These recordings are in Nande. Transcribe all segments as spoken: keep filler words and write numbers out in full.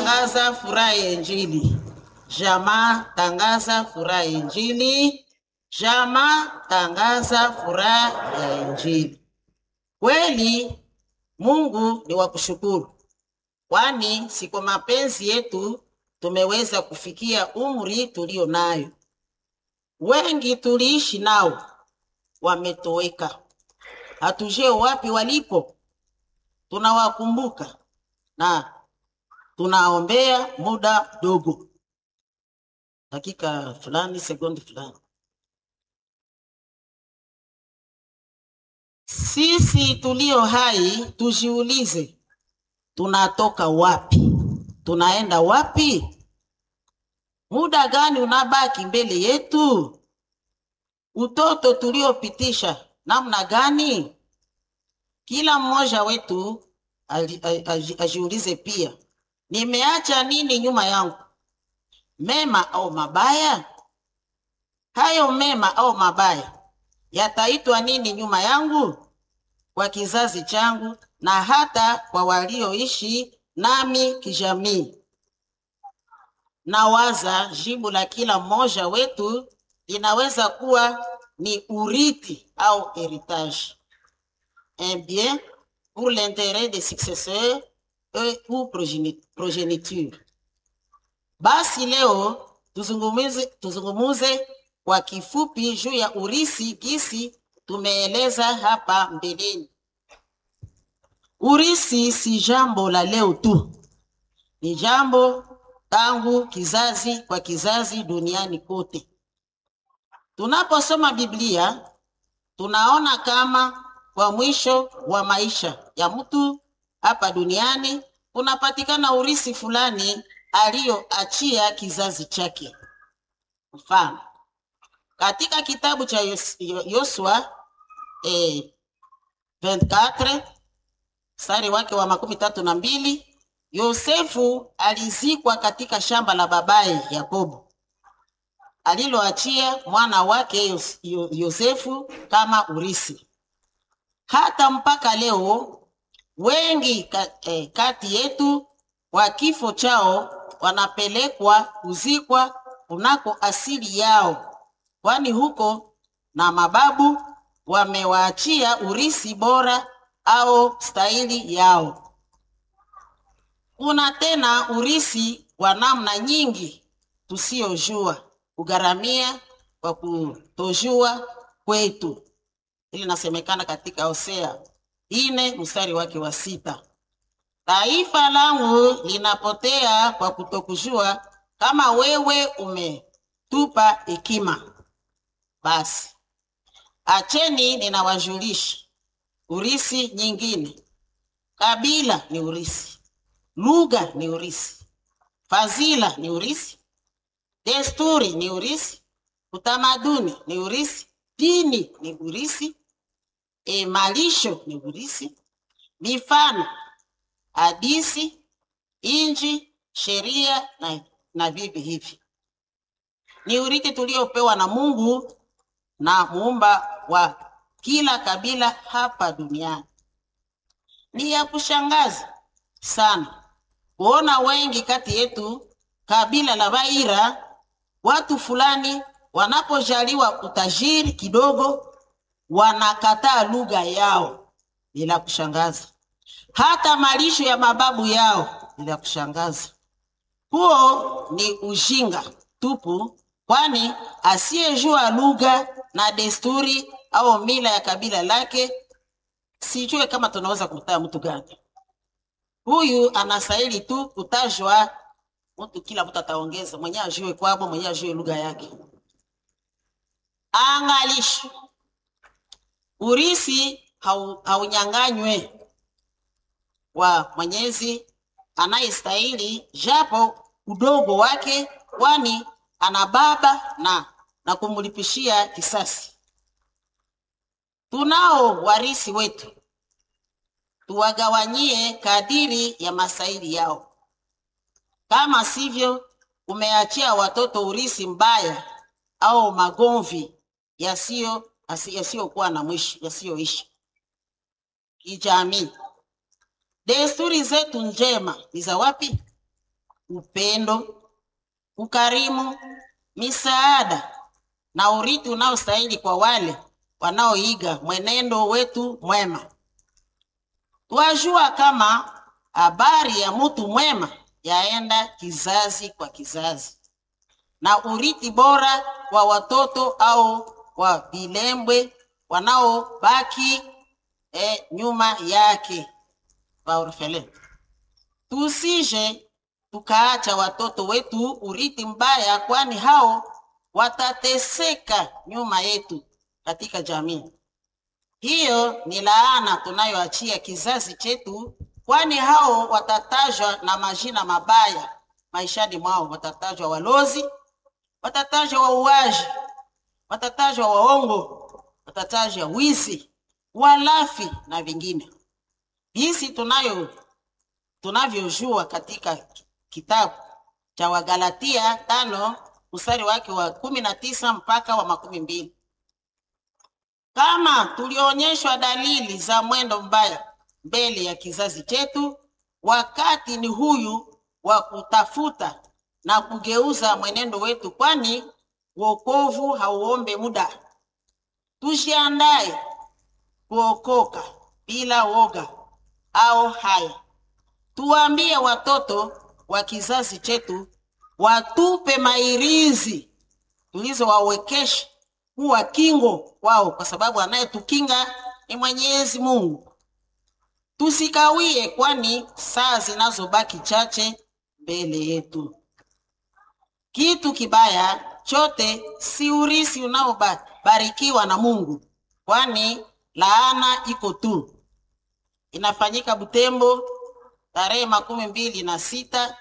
Tangaza furaha ya Injili. Jamaa, tangaza furaha ya Injili. Jamaa, tangaza furaha ya Injili. Kweli Mungu ni wa kushukuru, kwani si kwa mapenzi yetu tumeweza kufikia umri tulio nayo. Wengi tuliishi nao wametoweka, hatujue wapi walipo. Tunawakumbuka na tunaombea muda mdogo, dakika fulani, sekundi fulani. Sisi tulio hai tujiulize, tunatoka wapi? Tunaenda wapi? Muda gani unabaki mbele yetu? Utoto tuliopitisha namna gani? Kila mmoja wetu ali- aji- ajiulize pia, nimeacha nini nyuma yangu, mema au mabaya? Hayo mema au mabaya yataitwa nini nyuma yangu, kwa kizazi changu na hata kwa walioishi nami kijamii? Nawaza jibu la kila mmoja wetu linaweza kuwa ni urithi au heritage, un bien pour l'intérêt des successeurs et ou progéni- progéniture. Basi leo tuzungumuze, tuzungumuze kwa kifupi juu ya urisi gisi tumeeleza hapa mbeleni. Urisi si jambo la leo tu, ni jambo tangu kizazi kwa kizazi duniani kote. Tunaposoma Biblia tunaona kama kwa mwisho wa maisha ya mtu hapa duniani kunapatikana urisi fulani aliyoachia kizazi chake. Mfano, katika kitabu cha Yos- Yo- Yosua eh, ishirini na nne mstari wake wa makumi tatu na mbili Yosefu alizikwa katika shamba la babaye Yakobo aliloachia mwana wake Yos- Yo- Yosefu kama urisi. Hata mpaka leo wengi ka, eh, kati yetu kwa kifo chao wanapelekwa kuzikwa kunako asili yao, kwani huko na mababu wamewaachia urisi bora au stahili yao. Kuna tena urisi wa namna nyingi tusiyojua kugharamia kwa kutojua kwetu. Ili nasemekana katika Hosea ine mstari wake wa sita. Taifa langu linapotea kwa kutokujua, kama wewe umetupa hekima. Basi acheni ninawajulisha urisi nyingine. Kabila ni urisi, lugha ni urisi, fadhila ni urisi, desturi ni urisi, utamaduni ni urisi, dini ni urisi, e, malisho ni urisi, mifano, hadisi, inji, sheria na, na vivi hivi ni urithi tuliopewa na Mungu na muumba wa kila kabila hapa duniani. Ni ya kushangaza sana kuona wengi kati yetu kabila la Baira, watu fulani wanapojaliwa utajiri kidogo, wanakataa lugha yao. Bila kushangaza, hata malisho ya mababu yao. Bila kushangaza, huo ni ujinga tupu, kwani asiyejua lugha na desturi au mila ya kabila lake, sijue kama tunaweza kumtaa mtu gani. Huyu anastahili tu kutajwa mtu, kila mtu ataongeza mwenye ajue kwabo, mwenye ajue lugha yake. Angalisho, urisi hau- haunyang'anywe wa Mwenyezi anayestahili japo udogo wake, kwani ana baba na na kumlipishia kisasi. Tunao warisi wetu, tuwagawanyie kadiri ya masaili yao. Kama sivyo, umeachia watoto urisi mbaya au magomvi yasiyo yasiyokuwa na mwisho, yasiyoisha. Kijamii, desturi zetu njema ni za wapi? upendo, ukarimu, misaada na urithi unaostahili kwa wale wanaoiga mwenendo wetu mwema. Twajua kama habari ya mtu mwema yaenda kizazi kwa kizazi, na urithi bora wa watoto au wa vilembwe wanaobaki eh, nyuma yake waorfele. Tusije tukaacha watoto wetu urithi mbaya, kwani hao watateseka nyuma yetu katika jamii. Hiyo ni laana tunayoachia kizazi chetu, kwani hao watatajwa na majina mabaya maishani mwao. Watatajwa walozi, watatajwa wauaji, watatajwa waongo, watatajwa wizi, walafi na vingine. Jinsi tunayo tunavyojua katika kitabu cha Wagalatia tano mstari wake wa kumi na tisa mpaka wa makumi mbili. Kama tulionyeshwa dalili za mwendo mbaya mbele ya kizazi chetu, wakati ni huyu wa kutafuta na kugeuza mwenendo wetu, kwani wokovu hauombe muda. Tujiandae kuokoka bila woga au haya. Tuwaambie watoto wa kizazi chetu watupe mairizi tulizowawekesha kuwa kingo wao, kwa sababu anayetukinga ni Mwenyezi Mungu. Tusikawie, kwani saa zinazobaki chache mbele yetu. Kitu kibaya chote si urisi unaobarikiwa na Mungu, kwani laana iko tu. Inafanyika Butembo tarehe makumi mbili na sita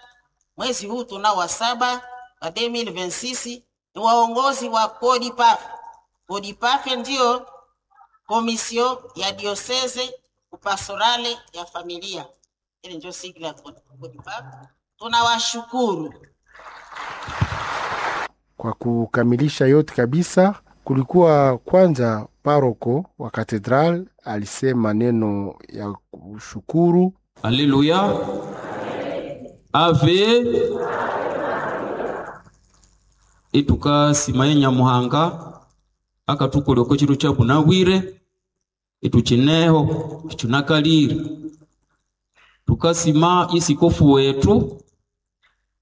mwezi huu tunao wa saba wa elfu mbili ishirini na sita. Ni waongozi wa CODIPAF. CODIPAF ndiyo komisio ya dioseze upastorale ya familia, ile ndio sigla ya CODIPAF. Tunawashukuru kwa kukamilisha yote kabisa. Kulikuwa kwanza paroko wa katedral alisema neno ya kushukuru. Haleluya. Ave itukasimaye Nyamuhanga akatukoleko chiro cha bunawire ituchineho ichunakalire tukasima isikofu wetu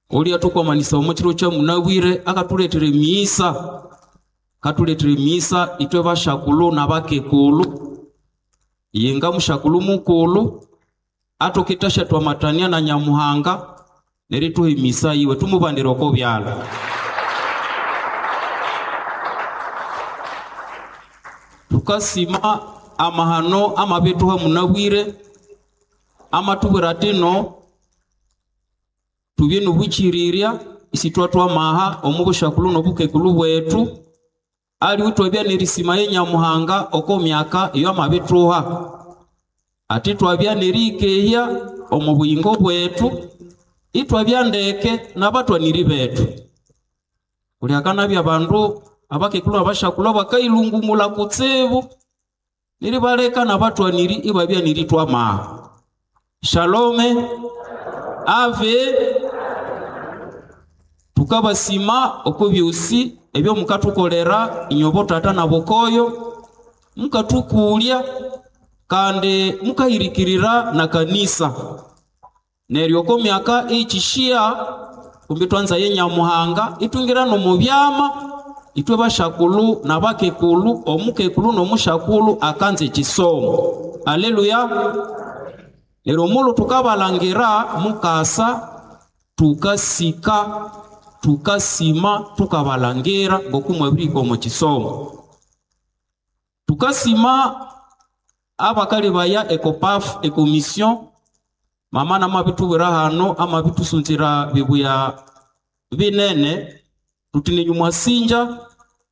oli atukwamanisa omo chiro cha munawire akatuletere misa katuletere misa itwe bashakulu na bakekulu yenga mushakulu mukulu atoketasha twamatania na Nyamuhanga nerituhe misa iwe tumubandira oko byalo. Tukasima amahano amabetuha munabwire amatubwira tino tubye nubuchirirya isitwa maha omubushakulu nobukekulu bwetu ali utwabya nerisima ye Nyamuhanga oko myaka iyo amabetuha ati twabya nerikehya omu buyingo bwetu itwabya ndeke n'abatwaniri betu kulyakana bandu abakekulu abashakulu bakailungumula kutsibu nilibaleka n'abatwaniri ibabya niritwa maha. Shalome ave tukabasima oko byosi ebyo mukatukolera inyobo tata na bokoyo mukatukulya kandi mukahirikirira na kanisa neryo oko myaka ichishia kumbi twanza ye Nyamuhanga itungira no mu byama itwe bashakulu na bakekulu omukekulu nomushakulu akanze kisomo. Haleluya. Lero mulu tukabalangira mukasa tukasika tukasima tukabalangira ngokumwabiriko mu kisomo tukasima abakali baya ekopaf ekomission mama namabitubwira hano amabitusunzira bibuya binene tutine sinja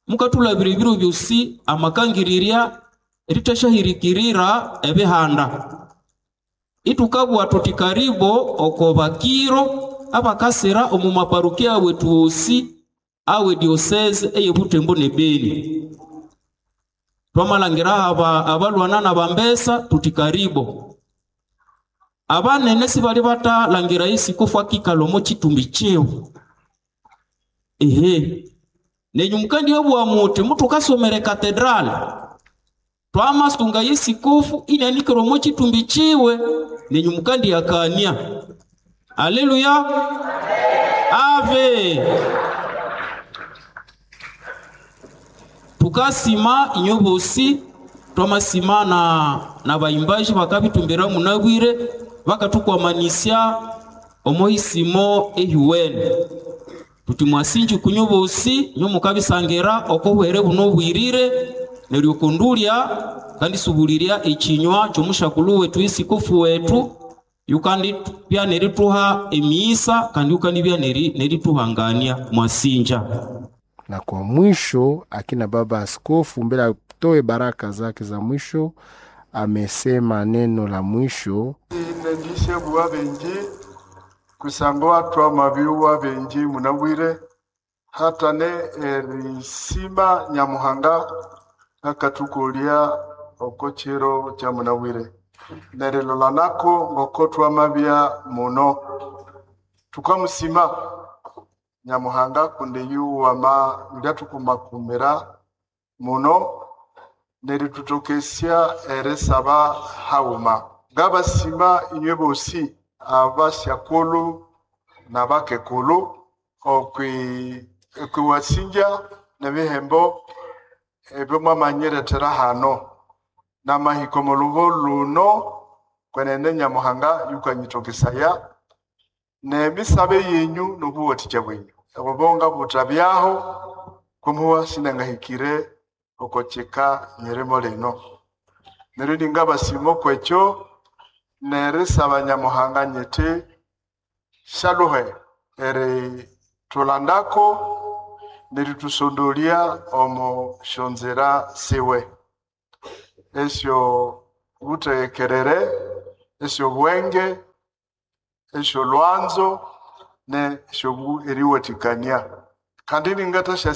mukatulabira ebiro byosi amakangirirya eritashahirikirira ebihanda itukabwa tuti karibo oko bakiro abakasira omu maparukia wetu wosi awe diocese eye Butembo ne Beni. Twamalangira aba abalwana na bambesa tuti karibo. Abanene sibali batalangira isikofu akikala omo chitumbi chiwe. Ehe. Nenyu mukandi obwa muti mutukasomere katedrali. Twamasunga yesikofu inanikira omo chitumbi chiwe nenyu mukandi yakania. Haleluya. Ave. Tukasima inyo bosi twamasima na na bayimbaji bakabitumbira munabwire bakatukwamanisya omoisimo ehiwene. Tuti mwasinji kunyo bosi nyo mukabisangira okohwere buno bwirire neryo kundulya kandi subulirya ekinywa kyomushakulu wetu isikofu wetu yukandi bya nerituha emiisa kandi yukandi bya neri nerituhangania mwasinja. Na kwa mwisho akina baba askofu mbele atoe baraka zake za mwisho amesema neno la mwisho. Inendishe bwa benji kusangwa twa mabiwa benji munabwire hata ne erisima Nyamuhanga akatukulia okochero cha munabwire nerilola nako ngoko twamabya muno tukamusima Nyamuhanga kunde yuwama lyatukumakumira muno neritutokesya erisaba hauma ngabasima inywe bosi abasyakulu nabakekulu okwi okwiwasinja nebihembo ebyo mwamanyiretera hano namahiko mulubo luno kwenene Nyamuhanga yukanyitokesaya nemisabe yenyu nobuwathikya bwenyu obubonga butabyaho kumuwa sinangahikire okocheka nyeremo lino neryo ningabasima okwekyo nerisaba Nyamuhanga nyiti shaluhe eri tulandako neritusondolya omo shonzera siwe esyo butegekerere esyo bwenge esyo lwanzo ne esyo eriwathikania kandi ningathasya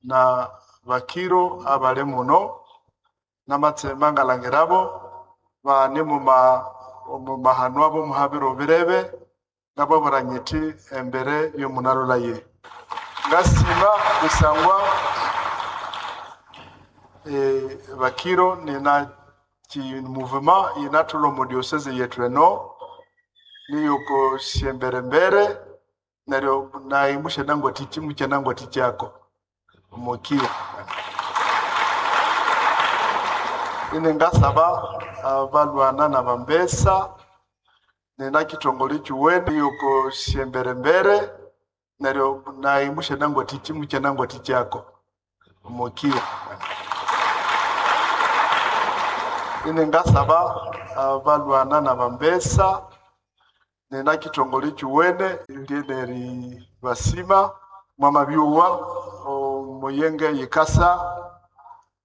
na bakiro abali muno namatsema ngalangirabo bane muma mumahano abo muhabiro birebe ngababura nyiti embere yomunalulaye ngasima kusangwa e, bakiro nina ki mouvement inathulo mu diocese yetu eno niyoko syemberembere neryo nayi mushenangwa tichi muchenangwa tichako omukia ine ngasaba abalwana na bambesa nina kitongole chiwene yoko syemberembere neryo nayi mushenangwa tichi muchenangwa tichako omukia ine ngasaba abalwana na bambesa nina kitongole chiwene lyeneri basima mwamabyuwa omuyenge yikasa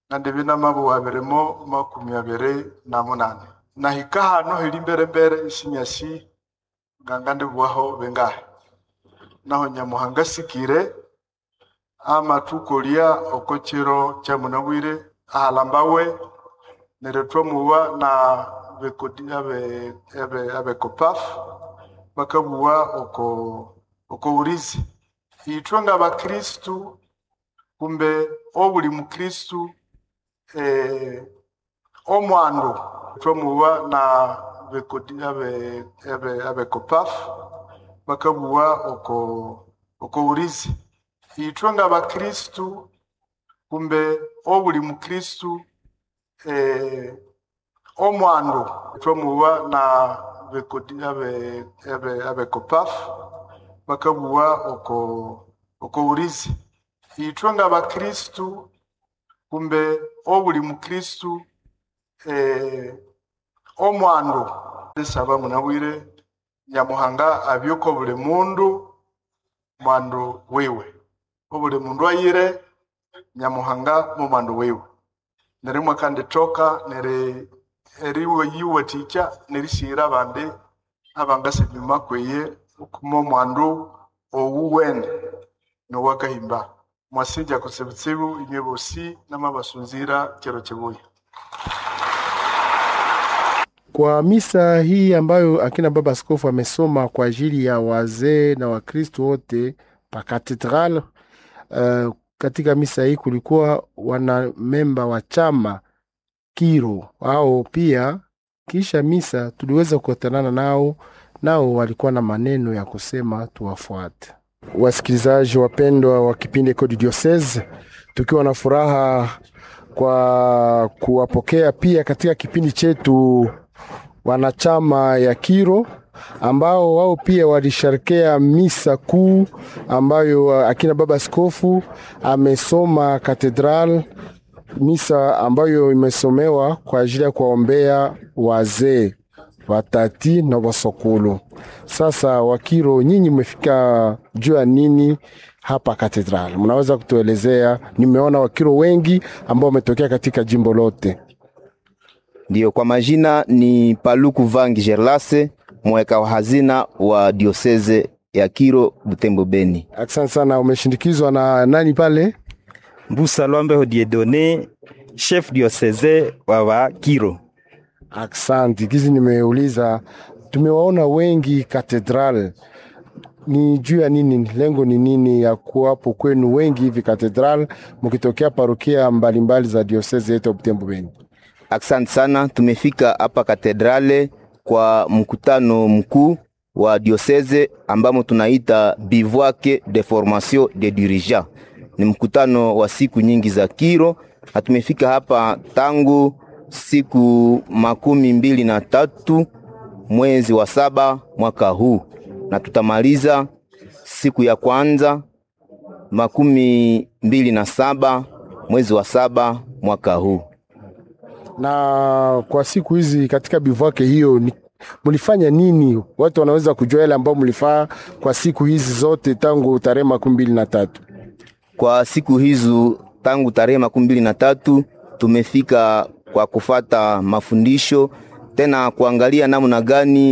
nandi binamabo abirimo makumi abiri na munane nahika hano hili mberembere isinyasi nganga ndibwaho bengahe naho Nyamuhanga sikire amatukolya okochero kya munabwire ahalambawe neryo twamuwa na bekodi abe abe abekopaf bakabuwa oko oko urizi itwe nga bakristu kumbe obuli mukristu eh, omwandu twamuwa na bekodi abe abe abekopaf bakabuwa oko oko urizi itwe nga bakristu kumbe obuli mukristu eh, omwandu twamuwa na bekodi abe abe abekopaf bakabuwa oko oko urizi itwe nga bakristu kumbe obuli mukristu eh, omwandu esaba munabwire Nyamuhanga abyuka obuli mundu mwandu wiwe obuli mundu ayire Nyamuhanga mu mwandu wiwe nerimwe kandi toka neri eriwe yiwathikya nerisiyira abandi abangasibima kweye okuma omwandu owuwene nowakahimba mwasinja kutsibutsibu inywe bosi namabasunzira chero chibuya. Kwa misa hii ambayo akina baba askofu amesoma kwa ajili ya wazee na Wakristo wote pa cathedral. Uh, katika misa hii kulikuwa wanamemba wa chama Kiro au pia, kisha misa tuliweza kukutanana nao, nao walikuwa na maneno ya kusema, tuwafuate. Wasikilizaji wapendwa wa kipindi Echo du Diocese, tukiwa na furaha kwa kuwapokea pia katika kipindi chetu wanachama ya Kiro ambao wao pia walisherekea misa kuu ambayo akina baba askofu amesoma katedral, misa ambayo imesomewa kwa ajili ya kuwaombea wazee watati na wasokulu. Sasa Wakiro, nyinyi mmefika juu ya nini hapa katedral? Mnaweza kutuelezea? Nimeona Wakiro wengi ambao wametokea katika jimbo lote. Ndiyo, kwa majina ni Paluku Vangi Gerlase, mweka wa hazina wa dioseze ya Kiro Butembo Beni. Asante sana. Umeshindikizwa na nani pale? Mbusa Lwambe Dieudonné, chef diocese wa wa Kiro. Asante. Kizi nimeuliza, tumewaona wengi katedral, ni juu ya nini? Lengo ni nini ya kuwapo kwenu wengi hivi katedral, mkitokea parokia mbalimbali za dioseze yetu ya Butembo Beni? Asante sana, tumefika hapa katedrale kwa mkutano mkuu wa dioseze ambamo tunaita bivouac de formation de dirigeants. Ni mkutano wa siku nyingi za Kiro na tumefika hapa tangu siku makumi mbili na tatu mwezi wa saba mwaka huu na tutamaliza siku ya kwanza makumi mbili na saba mwezi wa saba mwaka huu. Na kwa siku hizi katika bivouac hiyo ni mlifanya nini? Watu wanaweza kujua yale ambao mlifaa kwa siku hizi zote tangu tarehe makumi mbili na tatu. Kwa siku hizo tangu tarehe makumi mbili na tatu tumefika kwa kufata mafundisho tena kuangalia namna gani